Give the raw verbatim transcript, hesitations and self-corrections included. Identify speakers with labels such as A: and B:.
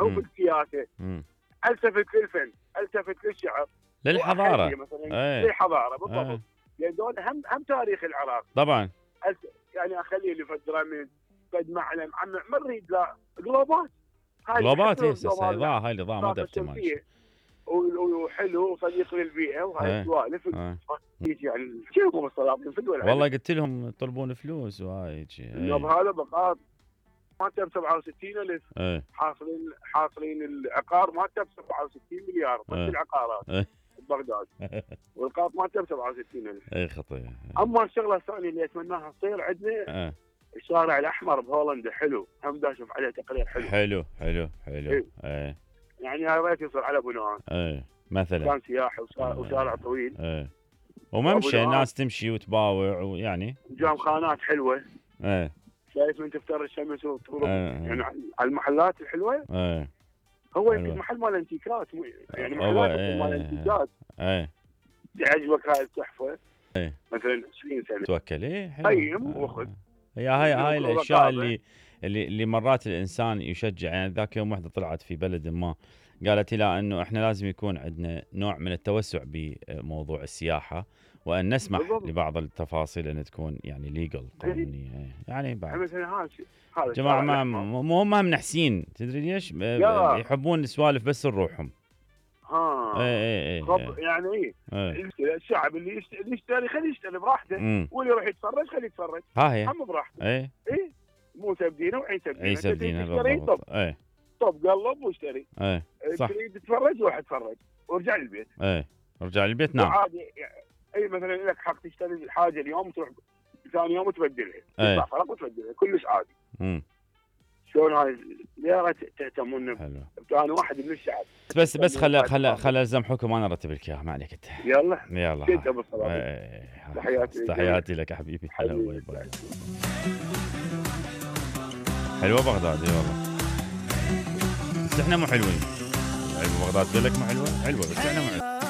A: او في السياسه، التفت للفن، التفت للشعر،
B: للحضاره
A: مثلا ايه. للحضاره بالضبط
B: ايه.
A: لان دول هم هم تاريخ العراق
B: طبعا.
A: يعني اخليه لفتره من قد معلم عم ما نريد لا جلوبات،
B: جلوبات هسه اضاءه، هاي الاضاءه ما تمشي
A: وحلو وصديق للبيئه وهاي السوالف يجي يعني شوفوا السلاطين في الدول.
B: والله قلت لهم يطلبون فلوس وهاي يجي
A: النوب هذا بقاط مالته ب سبعة وستين ألف
B: ايه.
A: حاصلين حاصلين العقار مالته ب سبعة وستين مليار بس
B: ايه.
A: العقارات
B: ايه.
A: ببغداد والقاط مالته ب سبعة وستين ألف.
B: اي خطير.
A: اما الشغله الثانيه اللي اتمناها تصير عندنا
B: ايه.
A: الشارع الاحمر بهولندا حلو، هم دا اشوف عليه تقرير حلو
B: حلو حلو حلو ايه. ايه.
A: يعني يا ريت يصير على بناء
B: ايه مثلا
A: كان سياحي وشارع طويل
B: ايه وممشى الناس تمشي وتباوع ويعني
A: جام خانات حلوه.
B: ايه
A: شايف من تفتر الشمس وتغرب يعني على المحلات الحلوه.
B: ايه
A: هو يمكن محل مال انتيكات يعني محلات
B: ايه.
A: مال انتيكات.
B: ايه
A: تعجبك هاي التحفه
B: ايه
A: مثلا عشرين سنه
B: توكل ايه
A: قيم وخذ.
B: هي هاي هاي الاشياء اللي اللي اللي مرات الانسان يشجع. يعني ذاك يوم وحده طلعت في بلد ما قالت لي انه احنا لازم يكون عندنا نوع من التوسع بموضوع السياحه وان نسمح بالضبط. لبعض التفاصيل ان تكون يعني ليجل قانونيه يعني بعد
A: مثلا هذا
B: جماعه ما مو هم منحسين تدري ليش يحبون السوالف بس لروحهم.
A: ها
B: ايه ايه ايه
A: يعني ايه, ايه. الشعب اللي يشتري خليه يشتري براحته واللي يروح يتفرج خليه يتفرج
B: ها هي
A: هم براحته.
B: ايه
A: ايه مو سبدينه وعيسى بدينه
B: عيسى بدينه بالضبط. ايه
A: طب قلب واشتري.
B: ايه صح
A: تريد تتفرج روح اتفرج وارجع للبيت.
B: ايه ارجع للبيت نعم
A: عادي اي مثلا لك حق تشتري الحاجه اليوم تروح ثاني يوم تبدلها تدفع فرق وتبدلها كلش عادي.
B: امم
A: شلون هاي يا ريت تهتمون.
B: حلو
A: انا واحد من الشعب
B: بس بس خل خل خل الزم حكم انا ارتب لك اياها ما عليك انت.
A: يلا
B: يلا
A: كنت ابو الصلاة.
B: ايه.
A: تحياتي
B: تحياتي لك حبيبي. هلا باي باي. حلوه بغداد اي والله بس احنا مو حلوين. بغداد قال لك مو حلوه حلوه بس احنا مو حلوين.